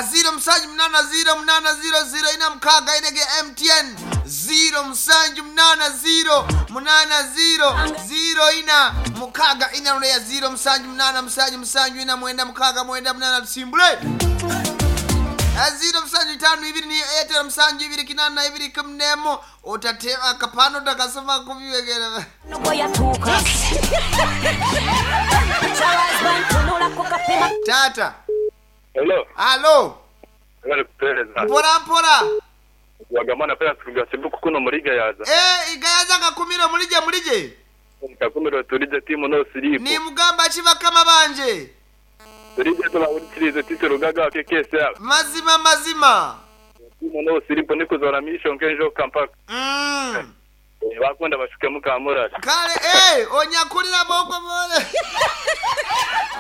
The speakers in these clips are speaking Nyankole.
0 8 0 8 0 0 ina mukaaga ina ge MTN 0 7 8 0 8 0 0 ina mukaaga ina ruleya 0 7 8 7 7 ina mwenda mukaaga mwenda munana tusimbule. 0 7 5 2 ni Airtel 7 2 8 2 11 otate akapano takasoma kubiwegera. Tata. Hello. Halo. Bari kupereza. Mpora mpora. Wagamana pera tugasebuka kuno muri Gayaza. Eh, igayaza kakumiro mulije mulije. Kakumiro turije timu no siripo. Ni mugamba ki bakama banje. Turije tubahurikirize tise rugaga kekese. Mazima mazima. Timu no siripo niko zora mission kenjo kampaka. Bakunda bashuke mukamura. Kale onyakulira boko bole.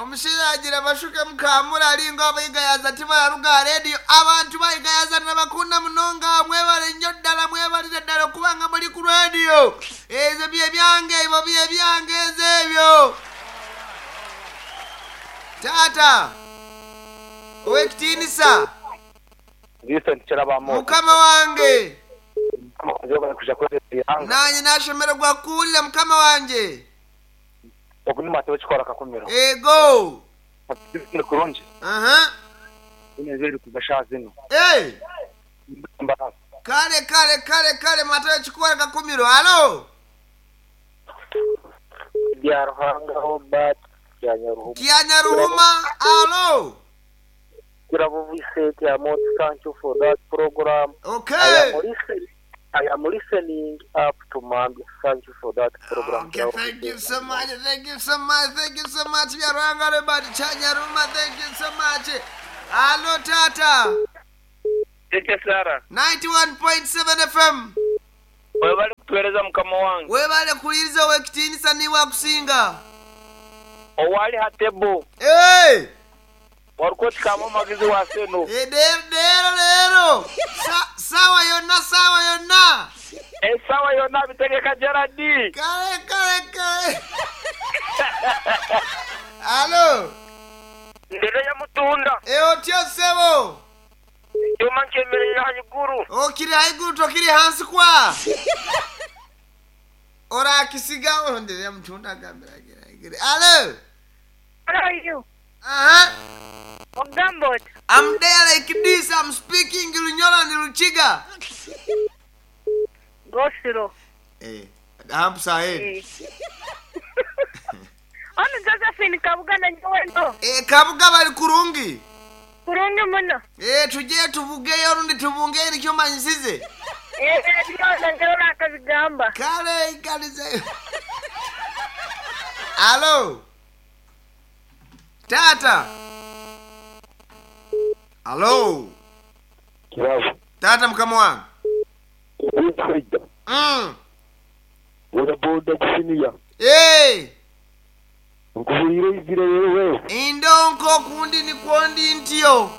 Omushiragira bashuke mukamura alinga abayigayaza tibayaruga radio abantu bayigayaza nabakunda munonga mwebale nnyo ddala mwebalire ddala okubanga muli ku radio. Ezo bye byange ebyo bye byange ezo ebyo. Tata owekitiinisa Vincent Kirabamo. Mukama wange. Kuja Nanye nashemererwa kuwulira mukama wanje. Okunima tewe kikora kakumiro. Ego. Ni kurungi. Aha. Inezeri kugasha zino. Eh. Mbarasi. Kale kale kale kale matayo chikora kakumiro. Halo. Bya Ruhanga Robert Kyanyaruhuma. Kyanyaruhuma. Halo. Kirabo Vincent ya Mot, thank you for that program. Okay. I am listening up to Mambia. Thank you for that program. Okay, thank you so much. Thank you so much. Thank you so much. Bya Ruhanga Robert Kyanyaruhuma. Thank you so much. Halo tata. Tete Sara. 91.7 FM. Webale kutueleza mukama wange. Webale kuliriza owekitiinisa niwe akusinga. Owali hatebo. Hey! Warukoti kama magizi wa seno. Lero lero. Sawa yonna sawa yonna. Sawa yonna bitegeka Gerard. Kale kale kale. Halo. Ndere ya mutunda. Otyo sebo. Yoma nkemerera haiguru. Okiri haiguru tokiri hansi kwa. Ora kisigawo ndere ya mutunda gambira gira. Halo. How are you? Uh-huh. Ogambot. I'm there like this. I'm speaking Lunyoro and Luchiga. Go slow. I'm sorry. Ono Josephine Kabuga na nyowe. Kabuga bali kurungi. Kurungi muno. Tuje tuvugeyo rundi tubunge nikyo manyisize. Ndio ngero akazigamba. Kale ikalize. Hello. Tata. Hello. Kirabo. Tata mukama wange. Boda boda kusiniya. Eh. Nkuhulire izire wewe. Indonko kundi ni kwondi ntio.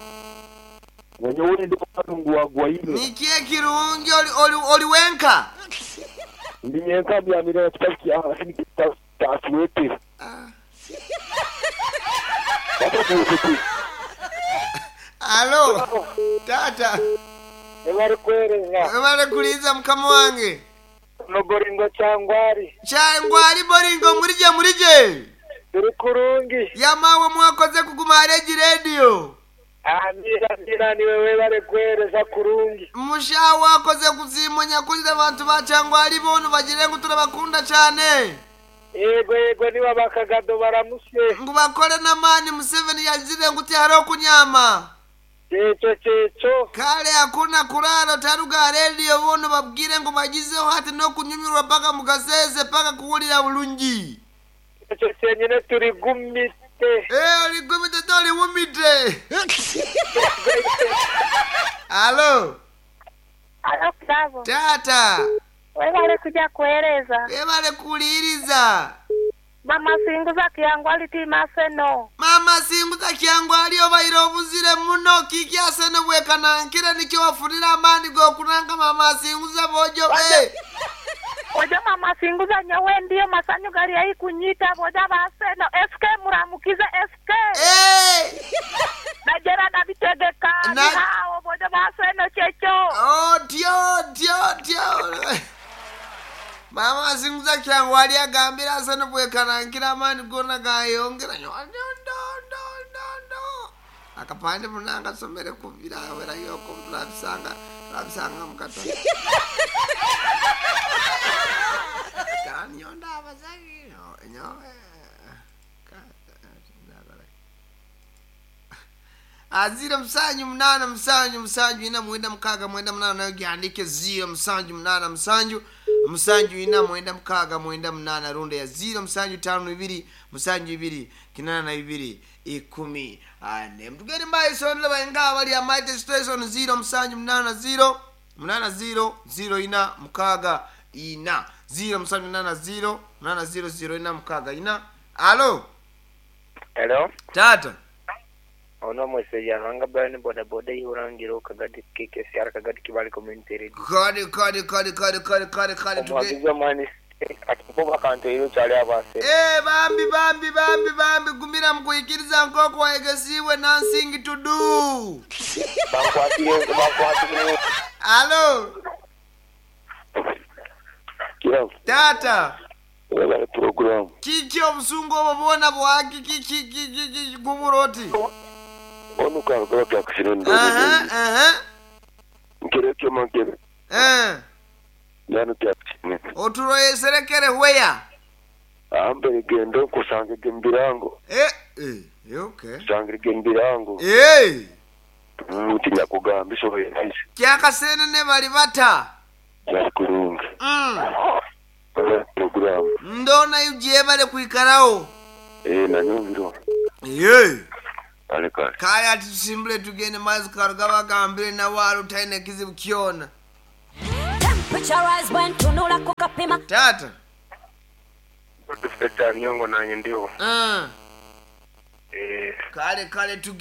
Wanyo ndi kalungu wa gwaine. Nikie kirungi oli oli oli wenka. Ndi nyenka bya mirera kitaki ah ni kitasiwete. Halo. Tata. Ebari kwereza. Ebari kuliza mukama wange. No boringo changwari. Changwari boringo murije murije. Turi kurungi. Yamawe mwakoze kuguma areji radio. Amira amira ni wewe bare kwereza kurungi. Mushawa akoze kuzimonya kulira abantu ba changwari bono bagire ngo turabakunda cyane. Yego yego niba bakagado baramuse. Ngo bakore namani Museveni yazire ngo haro kunyama. Checho checho. Kale hakuna kulala taruga radio bono babwire ngo bagizeho hati no kunyumirwa paka mugaseze paka kuwulira bulungi. Checho cyenyine turi gumite. Uri gumite tori wumite. Halo. Halo Bravo. Tata. Webale kuja kueleza. Webale kuliriza. Mama singuza kyangwali tima seno. Mama singuza kyangwali obaire obuzire muno kiki aseno bwekanankire nikyo wafurira amani gokunanga mama singuza bojo be. Ojo mama singuza nyawe ndiyo masanyu gari ya kunyita boja baseno SK muramukize SK. Eh. Na Gerard abitegeka. Omusaiza kyangwali agambire asa nobwekarankira amaani gona gayongera nyo ndo ndo ndo ndo akapande munanga somere kubira wera yoko turabisanga turabisanga mukata kanyonda abazagi nyo ziro musanju munaana musanju musanju ina mwenda mukaaga mwenda munaana, nayo gyandike 0 musanju munaana musanju musanju ina mwenda mukaaga mwenda munaana, runda ya 0 musanju tano ibiri musanju ibiri 82 14. Mtugende mbaisonera bainga abali amaite station 0 musanju munaana 0 munaana 0 0 ina mukaaga ina 0 musanju munaana 0 munaana 0 0 ina mukaaga ina. Alo. Hello. Tata. Ono mwese yaranga Brian boda boda ihurangira kagadi KKCR kagadi Kibali Community Radio. Kale kale kale kale kale kale kale tuge Omuwagizi w'amaani atukuba akantu ero kyali abase. Eh, bambi bambi bambi bambi, gumira mukuikiriza nkoko waegesiwe nothing to do. Bankwatire bankwatire. Alo. Kirabo. Tata. Webale program. Kiki obusungu obwo bwona bwaki kiki kiki kiki gumuroti? Onu karuka kyakushire. Aha aha. Nkere kyo mankere. Eh. Yanu kyakushire. Oturoyeserekere hweya. Ambere gendo kusange gembirango. Eh eh okay. Sange gembirango. Eh. Utinya kugamba iso yahise. Kyakasene bali bata. Yakurunga. Program. Ndona yujebale kuikarawo. Eh nanyumviro. Ye. Kale kale. Kale ati tusimbule tugende mazi karuga bagambire nawe utaine kizibu kyona. Temperature rise when tunula kukapima. Tata. Dufite nyongo nanye ndiho. Kale kale tugende.